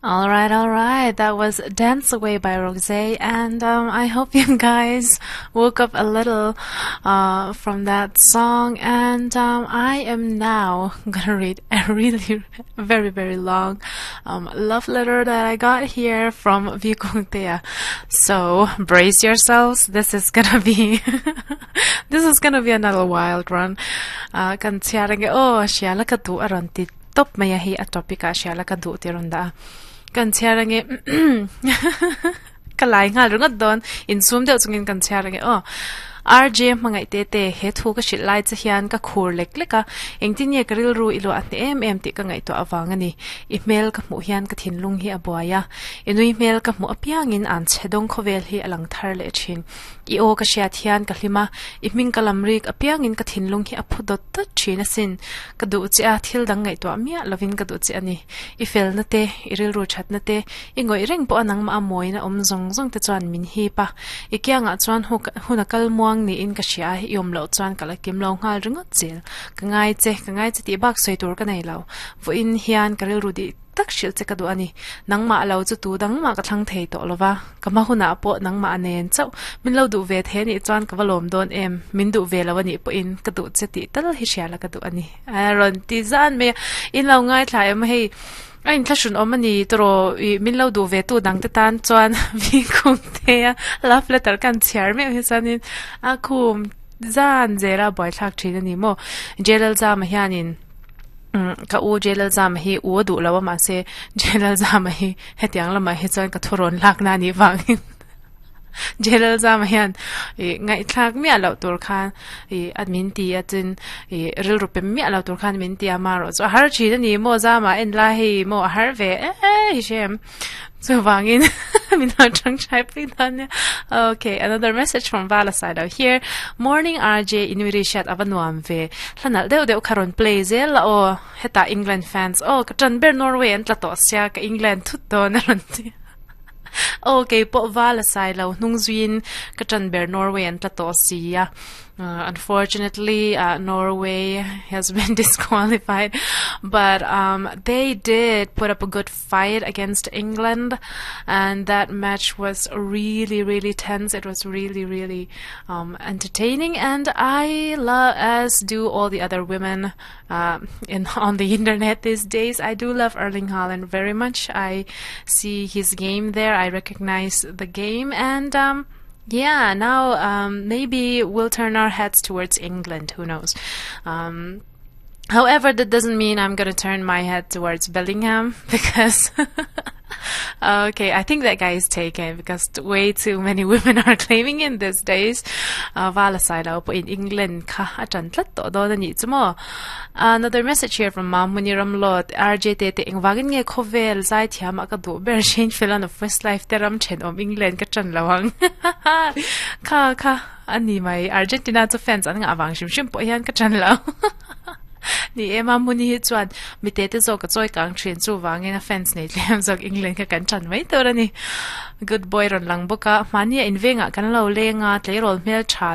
All right, all right. That was Dance Away by Rosé, and I hope you guys woke up a little from that song. And I am now gonna read a really, very, very long love letter that I got here from Vikongtea. So brace yourselves. This is gonna be this is gonna be another wild run. Kan chhiar ange aw hria la ka duh a rawn ti tawp mai a hei a topic ah hria la ka duh tih a rawn dah a. Kan chhiar ange ka lai nghal ringawt dawn insum deuh chungin kan chhiar ange aw. RJ hmangaih te te he thu ka hrilh lai che hian ka khur lek lek a, engtin nge ka rilru i luah hneh em em tih ka ngaihtuah avang a ni. I hmel ka hmuh hian ka thinlung hi a buai a, i nui hmel ka hmuh apiangin an chhe dawng khawvel hi a lang thar leh thin. I aw ka hriat hian ka hlim a, i hming ka lam rik apiangin ka thinlung hi a phu dawt dawt thin asin. Ka duh che a, thil dang ngaihtuah miah lovin ka duh che a ni. I felna te, i rilru thatna te, i ngawih reng pawha nangmah a mawina awm zawng zawng te chuan min hip a. I kiangah chuan hun a kal muang niin ka hria a, i awm loh chuan ka la kim lo nghal ringawt zel. Ka ngai che, ka ngai che tih bak sawi tur ka nei lo. Vawiin hian ka rilru dih tak hrilh che ka duh a ni. Nangmah lo chu tu dangmah ka thlang thei tawh lo va, ka hma hunah pawh nangmah a nen chauh. Min lo duh ve thei a nih chuan ka va lawm dawn em? Min duh ve lo a nih pawhin ka duh che tih tal hi hria la ka duh a ni. A rawn ti zan mai a, in lo ngaithla em hei a inthlahrun awm a ni tawh ih min lo duh ve tu dang te tan chuan vi khum te a love letter kan chhiar meuh hi chuanin a khum zan zela buaithlak thin a ni maw. Jalal Zama hianin Ka u Jalal Zama hi u a duh lo a mahse Jalal Zama hi hetiang lamah hi chuan ka thurawn lakna a nih vangin Jalal Zama hian ih ngaihthlak miah loh tur khan ih a min ti a chuan ih rilru pe miah loh tur khan min ti a amaherawh chu a har thin a ni maw Zama en lai hei maw a har ve e hi hrem. Chuvangin min lo tangtai pui dan nia. Okay, another message from Vala side out here. Morning RJ inuiri hriat ava nuam ve. Hlanalh deuh deuh kha rawn play zel la aw. Hetah England fans aw ka tan ber Norway an tla tawh sia ka England thut dawn a rawn ti. Aw keipawh Vala side lo hnung zuiin ka tan ber Norway an tla tawh sia. Unfortunately, Norway has been disqualified, but um, they did put up a good fight against England, and that match was really, really tense. It was really, really um, entertaining, and I love, as do all the other women uh, in on the internet these days. I do love Erling Haaland very much. I see his game there. I recognize the game, and um, yeah, now um, maybe we'll turn our heads towards England. Who knows? Um, however, that doesn't mean I'm gonna turn my head towards Bellingham because okay, I think that guy is taken because way too many women are claiming him these days. Vala sai lo pawhin England kha a ṭan tlat tawh dawn a nih chu maw. Another message here from Mamuni Ramlawt, RJ te te engvangin nge khawvel zaithiam ah ka duh ber Shane Filan of Westlife te ram ṭhenawm England ka ṭan lo ang. Kha kha a ni mai Argentina chu fans an ngah vang hrim hrim pawh hian ka ṭan lo. Ni e Mamuni hi chuan mite te zawk a chawi kang ṭhin chuvangin a fans nei tlem zawk England kha kan ṭan mai tur a ni. Good boy rawn lang bawk a, mahni a invengah kan lo leng a, tleirawl hmelṭha.